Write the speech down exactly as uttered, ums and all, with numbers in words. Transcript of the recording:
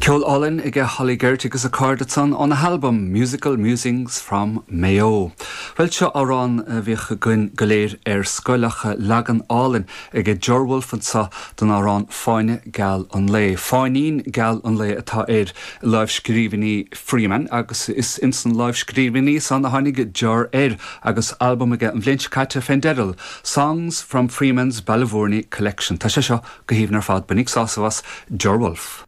Ceol álainn ag Holly Geraghty agus a cairde ansan óna halbam Musical Musings from Mayo. Well seo amhrán a bhíodh againn go léir ar scoil ach leagan álainn ag Ger Wolfe anseo den amhrán Fáinne Geal an Lae. Fáinnín Geal an Lae atá ar lámhscríbhinní Freeman agus is ins na lámhscríbhinní san a tháinig Ger air agus albam aige an bhliain seo caite fén dteideal Songs from Freeman's Ballyvourney Collection. Tá sé seo go haoibhinn ar fad bainigí sásamh as Ger Wolfe.